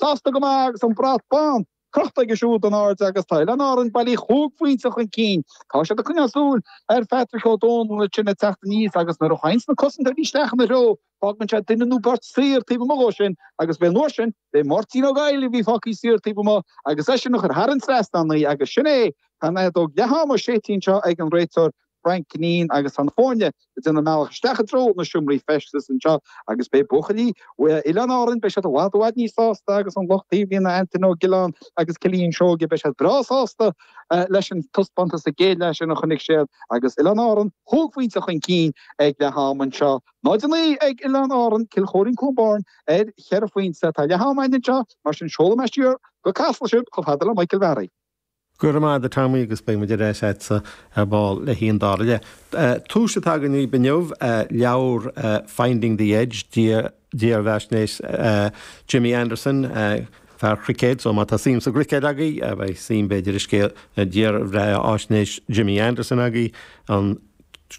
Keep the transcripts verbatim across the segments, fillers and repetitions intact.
Sásta go maith agus an brat bán crochta aige siúd in airde agus tá Oileáin Árann bailí chúig phointe chun cinn. Tá siad ag coinneáil súil ar Phatrick Ó Dónaill ansin ag teacht aníos agus nuair a théanns na cosantóirí isteach ina threo, fágann sé duine nó beirt saor taobh amuigh dhó sin agus b'é an uair sin, b'é Máirtín Ó Gabhail a bhí fágtha saor taobh amuigh agus eisean a chuir thar an trasnán í agus sin é, tá an fheadóg leath-ama séidte anseo ag an réiteoir Frank Cunneen agus tá na foirne ag déanamh a mbealach isteach i dtreo na seomraí feistis anseo agus beidh buachaillí Oileáin Árann, beidh siad i bhfad i bhfad níos sásta agus an lucht taobhlíne Antaine Ó Giolláin agus Cillian Seoige, beidh siad breá sásta leis an taispeántas sa gcéad leath sin a chonaic siad agus Oileáin Árann chúig phointe chun cinn ag leath ama anseo. náid a naoi ag Oileáin Árann, Cill Chóirín Cluain Bheirn ar cheithre phointe. Tá leath ama againn anseo, mar sin seolfaidh mé siar go Casla sibh chomh fada le Michael Barry. Go raibh maith agat a Tommy agus beidh muid ar ais agatsa ar ball le haghaidh an dara leath. Duais atá againn inniu, leabhar Finding the Edge, dírbheathaisnéis Jimmy Anderson, fear cruicéid, so má tá suim sa gcruicéad agaibh, beidh suim b'fhéidir i scéal dírbheathaisnéis Jimmy Anderson agaibh. An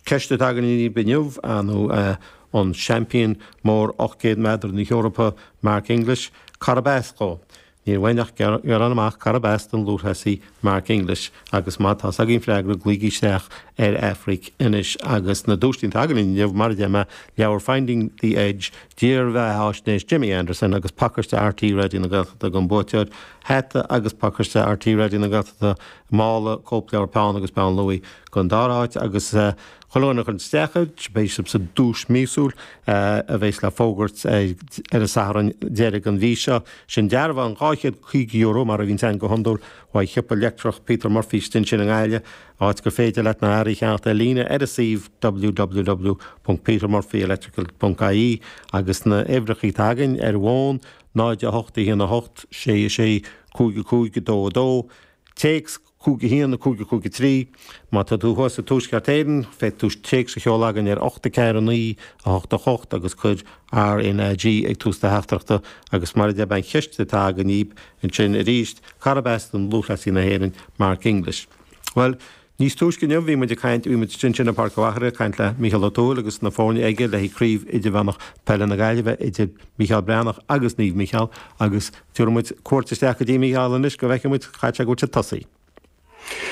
ceist atá againn inniu nó an seaimpín mór ocht gcéad méadar na hEorpa Mark English, cárb as dó? Níl uainn ach gearán amach cárb as don lúthchleasaí Mark English agus má tá agaibh an freagra glaoigí isteach ar Aifric anois agus na duaiseanna atá againn inniu mar a deir mé, leabhar Finding the Edge, dírbheathaisnéis Jimmy Anderson agus pacáiste RTÉ Raidió na Gaeltachta don bhuaiteoir, hata agus pacáiste RTÉ Raidió na Gaeltachta, mála, cóipleabhar, peann agus peann luaidhe don dara háit agus Chuile dhuine a chuireann isteach air, beidh sibh sa duais míosúil a bheas le fógairt ar an Satharn deiridh den mhí seo. Sin dearbhán dhá chéad caoga euro, mar a bhíonn againn go hiondúil, uaidh Shiopa Leictreach Peter Murphy istigh ansin i nGaillimh, áit gur féidir leat na hearraí a cheannacht ar líne ar a suíomh www ponc petermurphyelectrical ponc ie agus na huimhreacha atá againn ar bhfón, náid a hocht a haon a hocht, sé a sé, cúig a cúig a dó a dó, téacs. cúig a haon, cúig a cúig a trí. Má tá tú thuas i dTuaisceart Éireann, féadfaidh tú téacs a sheoladh againn ar ocht a ceathair a naoi a hocht a hocht agus cuir RNAG ag tús do theachtaireachta agus mar a deir mé an cheist atá againn daoibh ansin arís, cárb as don lúthchleasaí na hÉireann, Mark English? Bhuel, níos túisce inniu bhí muid ag caint, bhí muid ansin i bPáirc an Mhachaire ag caint le Mícheál Ó Tuathail agus na foirne aige le haghaidh Craobh Idirmheánach Peile na Gaillimhe idir Mícheál Breathnach agus Naomh Mícheál agus tabharfaidh muid cuairt isteach go dtí Mícheál anois go bhfeicfidh muid, caithfidh sé go bhfuil siad tosaithe.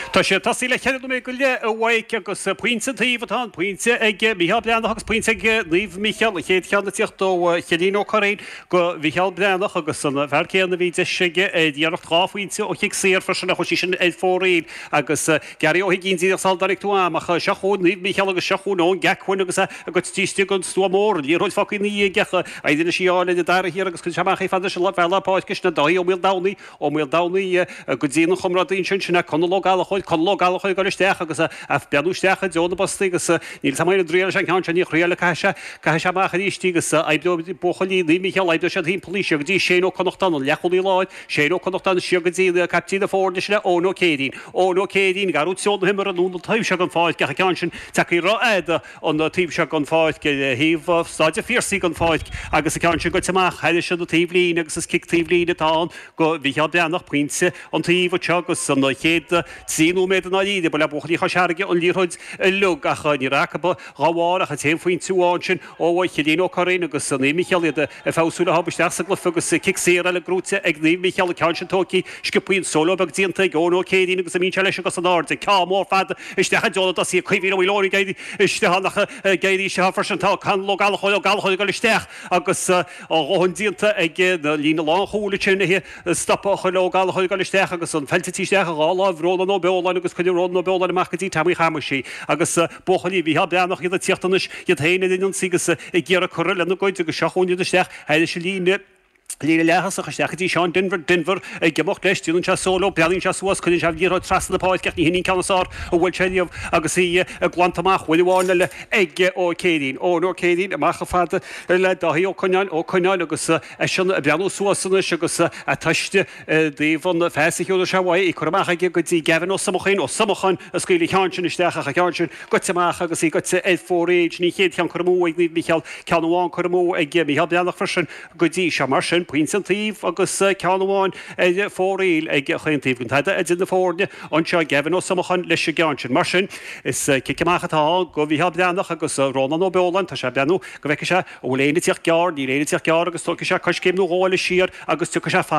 Tá sé tosaithe le ceithre nóiméad go leith a Mhaidhc agus pointe an taobh atá ann, pointe ag Mícheál Breathnach agus pointe ag Naomh Mícheál, an chéad cheann ag tíocht ó Chillín Ó Curraoin go Mhícheál Breathnach agus an fear céanna a bhí deis aige ar iarracht dhá phointe ó chic saor freisin ach chuaigh sí sin ar fóraoil agus Gary Ó hUiginn díreach sula dtáinig tú a'm ach seo chugainn Naomh Mícheál agus seo chugainn Eoin Gacquin agus é ag goil istigh don stua mór, an liathróid fágtha ina dhiaidh ach éiríonn leis í a fháil ar an dara hiarraidh agus cuireann sé amach í fada leis an bhfear lár páirce sin Dáithí Ó Maoldomhnaigh Ó Maoldomhnaigh go dtí an chomrádaí ansin, sin é Conall Ó Gallchóir, Conall Ó Gallchóir ag dul isteach agus ag breathnú isteach i dtreo na bpostaí agus níl 's a'm an dtriailfidh sé an ceann sin, ní thriailfidh, caithfidh sé, caithfidh sé amach arís í agus oibreoidh buachaillí Naomh Mícheál, oibreoidh siad thimpeall í, siar go dtí Shane Ó Connachtáin, an leathchúlaí láir, Shane Ó Connachtáin siar go dtí caiptín na foirne, sin é Eoin Ó Céirín, Eoin Ó Céirín ag athrú treo na himeartha anonn an taobh seo den pháirc ach an ceann sin tagtha rófhada an taobh seo den pháirc, ar thaobh Staid an Phiarsaigh den pháirc agus an ceann sin goite amach thairis an taobhlíne agus is cic taobhlíne atá ann go Mhícheál Breathnach, pointe an taobh anseo agus an chéad trí nóiméad i ndáiríre, ba le buachaillí Chois Fharraige an liathróid uilig ach ní raibh acu dá bharr ach an t-aon phointe amháin sin ó Chillín Ó Curraoin agus Naomh Mícheál iad ag feabhsú leo isteach sa gcluiche agus cic saor eile gnóite ag Naomh Mícheál, an ceann sin tógtha sciobtha an solo beag déanta ag Eoin Ó Céirín agus imíonn sé leis agus in airde, ceann mór fada isteach i dtreo na dtosaithe, Caoimhín Ó Maoileoin ag éirí isteach ann ach ag éirí isteach freisin tá Conall Ó Gallchóir, Ó Gallchóir ag dul isteach agus a dhóthain déanta ag na líne lánchúil ansin é stopadh a chur le Ó Gallchóir ag dul isteach agus an pheil tite isteach i dhá láimh Rónán Ó Beoláin agus cuireann Rónán Ó Beoláin amach go dtí Tommy Chamuis í agus buachaillí Mhícheál Breathnach iad ag tíocht anois iad féin ar an ionsaí agus ag iarraidh cur lena gcuid agus seo chugainn iad isteach thairis an líne líne leath-thosach isteach go dtí Seán Denvir, Denvir ag imeacht leis, déanann sé solo, breathnaíonn sé suas, cuireann sé an liathróid trasna na páirce ach ní hin í an ceann is fearr a bhuail sé riamh agus í glanta amach uair amháin eile ag Ó Céirín. Eoin Ó Céirín amach chomh fada le Dáithí Ó Coineáin, Ó Coineáin agus eisean ag breathnú suas anois agus a tuiste i dtaobh an phas a thiúrfaidh sé uaidh, í curtha amach aige go dtí Gavin Ó Somacháin, Ó Somacháin a scaoil an ceann sin isteach ach an ceann sin goite amach agus í goite ar fóraoil. Sin an chéad cheann curtha amú ag Naomh Mícheál, ceann amháin curtha amú ag Mícheál Breathnach freisin go dtí seo. Mar sin, sin pointe an taobh agus ceann amháin ar fóraoil ag chaon taobh. Gan tada idir na foirne anseo Gavin Ó Somacháin leis an gceann sin. Mar sin is cic amach atá ann go Mhícheál Breathnach agus Rónán Ó Beoláin. Tá sé ag breathnú go bhfeicfidh sé an bhfuil éinne ag tíocht gearr, níl éinne ag tíocht gearr agus tógfaidh sé coiscéim nó dhó eile siar agus tiocfaidh sé fada.